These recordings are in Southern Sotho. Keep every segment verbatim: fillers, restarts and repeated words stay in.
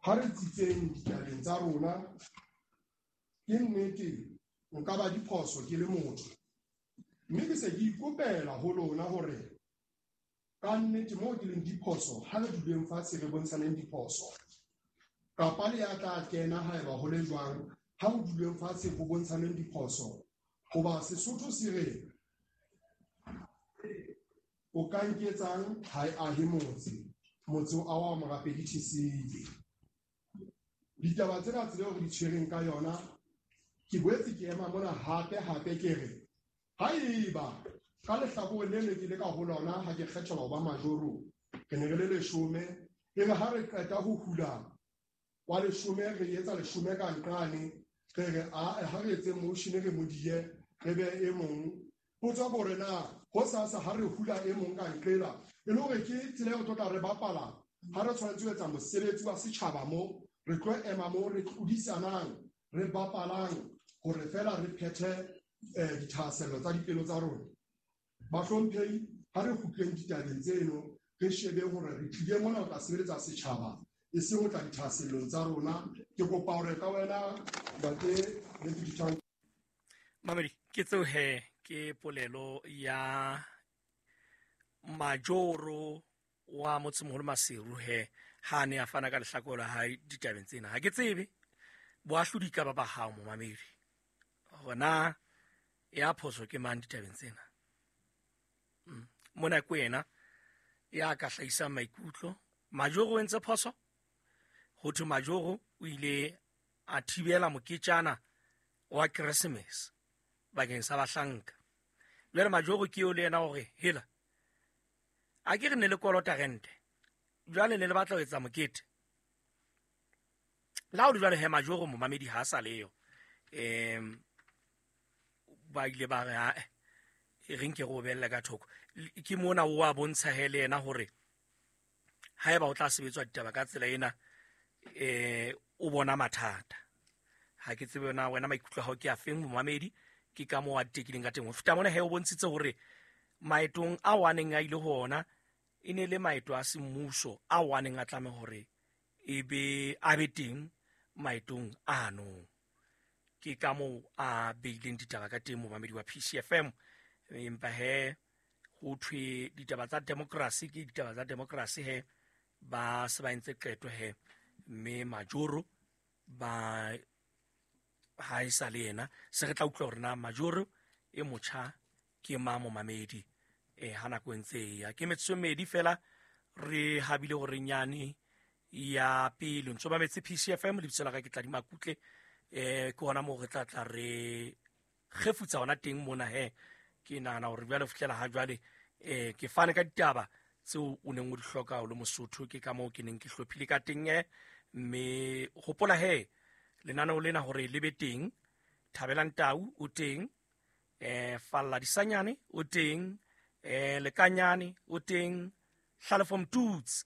Ha re tsitseng ditabeng tsa rona, ke nnete nka ba diphoso ke le motho. Mme ke se ke ikopela ho lona hore ka nnete moo ke leng diphoso, ha re duleng fatshe re bontshaneng diphoso. Kapa le ya tla kena haeba ho le jwang, ha ho duleng fatshe ho bontshaneng diphoso. Hoba Sesotho se re, o ka nketsang ha e ahe motse, motse o awa morapedi tjhesile. Ditaba tsena tsela eo re di tshwereng ka yona, ke boetse ke ema mona hape hape ke re, haeba ka lehlakore le ne ke le ka ho lona ha ke kgethelwa ho ba majoro, re ne re le leshome, e re ha re qeta ho hula wa leshome, re etsa leshome ka nqane, re re a ha re etse motion re modiye, re be e mong. Potso ke hore na hosasa ha re hula e mong ka nqela, e le hore ke tsela eo re tlo tla re bapala ha re tshwanetse ho etsa mosebetsi wa setjhaba mo, re tlo ema mo re tlodisanang, re bapalang hore fela re phethe eh dithahasello tsa dipelo tsa rona. Bahlomphehi, ha re kgutleng ditabeng tseno, re shebeng hore re tlile mona ho tla sebeletsa setjhaba, e seng ho tla dithahasellong tsa rona. Ke kopa hore ka wena ntate Deputy Town Mamedi, ke tseo he ke polelo ya majoro wa motsemoholo Maseru he ha ne a fana ka lehlakore la hae ditabeng tsena. Ha ke tsebe boahlodi ka ba ba hao momamedi hore na ya phoso ke mang ditabeng tsena. Mm. Mona ke wena ya ka hlahisang maikutlo. Majoro o entse phoso. Ho thwe majoro o ile a thibela moketjana wa Keresemese bakeng sa bahlanka. Jwale majoro ke eo le yena hore hela a ke re ne le kolota rente, jwale ne le batla ho etsa mokete. La ho le jwale he majoro momamedi ha sa leyo. Em ba ile ba re ha e re nke re o behelle ka thoko. Ke mona o a bontsha he le yena hore haeba o tla sebetswa ditaba ka tsela ena, eh o bona mathata. Ha ke tsebe na wena maikutlo a hao ke a feng momamedi, ke ka moo a tekileng ka teng. Ho feta mona he o bontshitse hore maetong ao a neng a ile ho ona e ne le maeto a semmuso ao a neng a tlameha hore e be a be teng maetong ano. Ke ka moo a beileng ditaba ka teng momamedi wa P C F M. Empa he ho thwe ditaba tsa democracy ke ditaba tsa democracy he ba se ba entse qeto he, mme majoro ba ha e sa le yena. Se re tla utlwa hore na majoro e motjha ke mang momamedi eh ha nako e ntse e ya. Ke metsotso e mmedi fela re habile hore nyane ya pele. Ntso ba metse P C F M, lebitso la ka ke Tladi Makutle. Eh ke hona moo re tla tla re kgefutsa hona teng mona he. Ke nahana hore jwale ho fihlela ha jwale eh ke fane ka ditaba tseo o neng o di hloka o le Mosotho. Ke ka moo ke neng ke hlophile ka teng he. Mme hopola he lenaneo lena hore le be teng, Thabelang Tau o teng, eh Falla Disanyane o teng, eh Lekanyane o teng, Hlalefo Mtutsi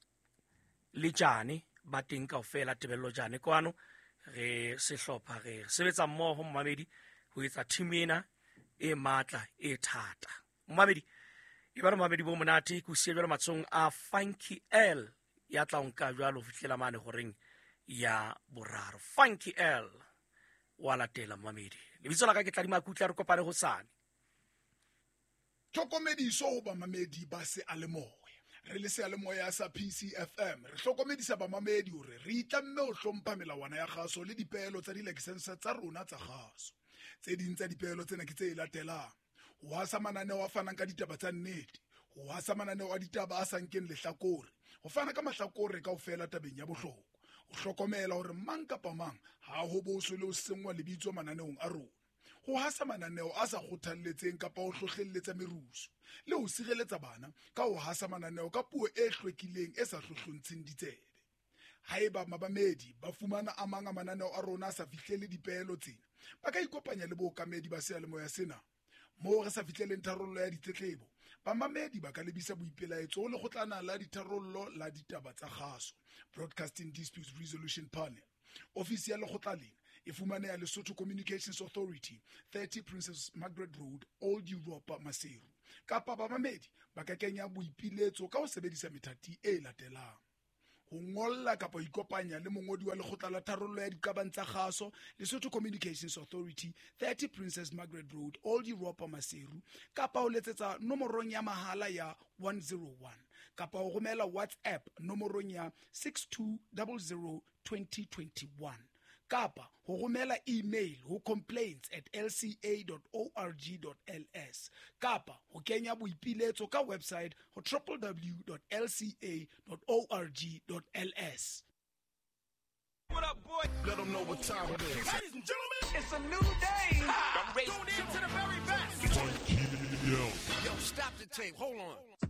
le Jane ba teng kaofela. Tebello Jane kwano re sehlopha re sebetsa mmoho momamedi ho etsa team ena e matla e thata. Momamedi e ba re momamedi bo monate ke o siya jwalo matsohong a Funky L ya tla o nka jwalo ho fihlela mane horeng ya boraro. Funky L wa latela momamedi. Lebitso la ka ke Tladi Makutle, re kopane hosane. Tlhokomediso ho bamamedi ba seyalemoya. Re le seyalemoya sa P C F M re hlokomedisa bamamedi hore re itlamme ho hlompha melawana ya kgaso le dipeelo tsa dilakesense tsa rona tsa kgaso. Tse ding tsa dipeelo tsena ke tse latelang: ho hasa mananeo a fanang ka ditaba tsa nnete, ho hasa mananeo a ditaba a sa nkeng lehlakore, ho fana ka mahlakore kaofela tabeng ya bohlokwa, ho hlokomela hore mang kapa mang ha ho boswe le ho senngwa lebitso mananeong a rona, ho hasa mananeo a sa kgothalletseng kapa ho hlohlelletsa merusu, le ho sireletsa bana ka ho hasa mananeo ka puo e hlwekileng e sa hlohlontsheng ditsebe. Haeba mabamedi ba fumana a mang a mananeo a rona a sa fihlele dipeelo tsena, ba ka ikopanya le bookamedi ba seyalemoya sena. Moo re sa fihleleng tharollo ya ditletlebo, bamamedi ba ka lebisa boipelaetso ho lekgotlana la ditharollo la ditaba tsa kgaso, Broadcasting Disputes Resolution Panel. Ofisi ya lekgotla lena e fumaneha Lesotho Communications Authority, thirty Princess Margaret Road, Old Europa, Maseru. Kapa bamamedi ba ka kenya boipiletso ka ho sebedisa methati e latelang: Ho ngolla kapa ho ikopanya le mongodi wa lekgotla la tharollo ya diqabang tsa kgaso, Lesotho Communications Authority, thirty Princess Margaret Road, Old Europa, Maseru, kapa ho letsetsa nomorong ya mahala ya one zero one, kapa ho romela WhatsApp nomorong ya six two double zero twenty twenty one, kapa ho romela email ho complaints at l c a dot org dot l s, kapa ho kenya boipiletso ka website ho w w w dot l c a dot org dot l s. What up, boy? Let 'em know what time it is. Ladies and gentlemen, it's a new day. Ha! I'm ready. Tune in to the very best. Yo, stop the tape. Hold on.